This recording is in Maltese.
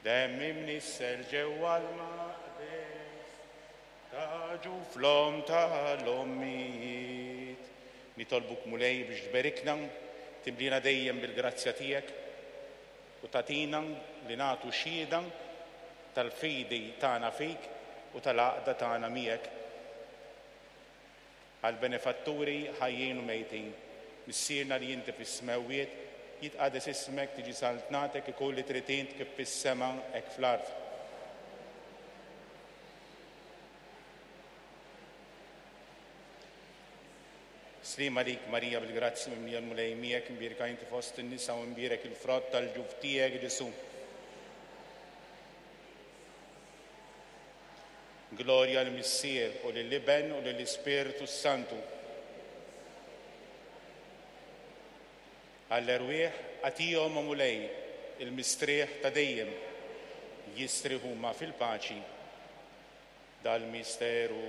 Demm imnissel ġewwa l-maqdes ta' ġuf l-omm tal-ommijiet. Nitolbuk Mulej biex tberikna, timlina dejjem bil-grazzja tiegħek u tagħtina li nagħtu xhieda tal-fidi tagħna fik u tal-għaqda tagħna miegħek. Għall-benefatturi ħajjin u mejtin. Missierna li inti fis-smewwiet, jitqades ismek, tiġi saltnatek, ikun li trid int kif fis-sema hekk fl-art. Sliem għalik Marija bil-grazzja mimlija l-Mulej miegħek, imbierka inti fost in-nisa u imbierek il-frott tal-ġuf tiegħek Ġesù. Glorja lill-Missier u lill-Iben u lill-Ispirtu s-Santu. Għall-erwieħ agħtihom, o Mulej, il-mistrieħ ta' dejjem, jistrieħu huma fil-paċi. Dal-misteru.